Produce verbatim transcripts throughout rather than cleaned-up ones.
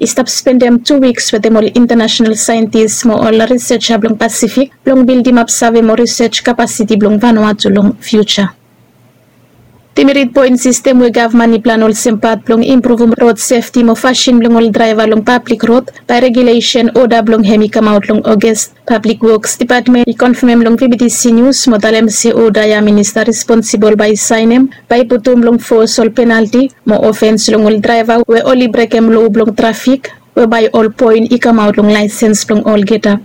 i stap spendem tu wiks wetem ol intanasenal saentis mo ol riseja blong Pasifik blong bildimap save mo risej kapasiti blong Vanuatu long fiuja. Dimirit poen sistem we gavman i plan olsem pat blong impruvum rod sefti mo fasin blong ol draeva long pablik rod bae regulesen oda blong hem i kamaot long Oges. Pablik Woks Dipatmen i konfamem long V B T C Nius mo talem se oda ya minista responsibol bae i saenem bae i putum long fos ol penalti mo ofens long ol draeva we oli brekem loa blong trafik we bae ol poen i kamaot long laesens blong olgeta.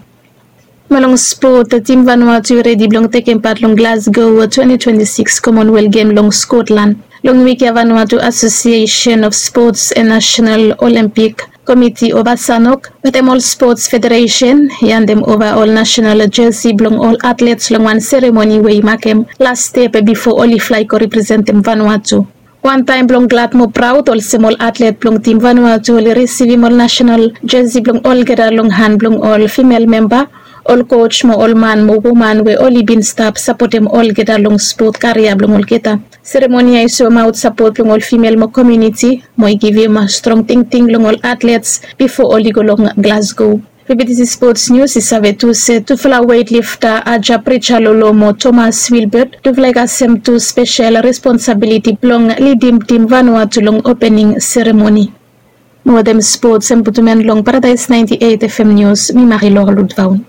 Mo long spot, tim Vanuatu i redi blong tekem pat long Glasgow twenti twenti sikis Commonwealth Gem long Skotlan. Long wik ya Vanuatu Asosiesen of Spots and Nasenal Olempik Komiti o VASANOC wetem ol spots federesen i andem ova ol nasenal jesi blong ol atlets long wan seremoni we i makem las step bifo oli flae go representem Vanuatu. Wantaem blong glad mo praod olsem ol atlet blong tim Vanuatu oli risivim ol nasenal jesi blong olgeta long han blong ol fimel memba, ol koj mo ol man mo woman we oli bin stap sapotem olgeta long spot karia blong olgeta. Seremoni ya i soemaot sapot blong ol fimel mo komuniti mo i givim strong tingting long ol atlets bifo oli go long Glasgow. V B T C Sports News i save tu se tufala weightlifter Aja Prichalolo mo Thomas Wilbert tufala i kasem tu spesel responsabiliti blong lidim tim Vanuatu long opening seremoni. Mo wetem spots em putum en long Paradise ninety-eight F M News, mi Marilor Ludvaun.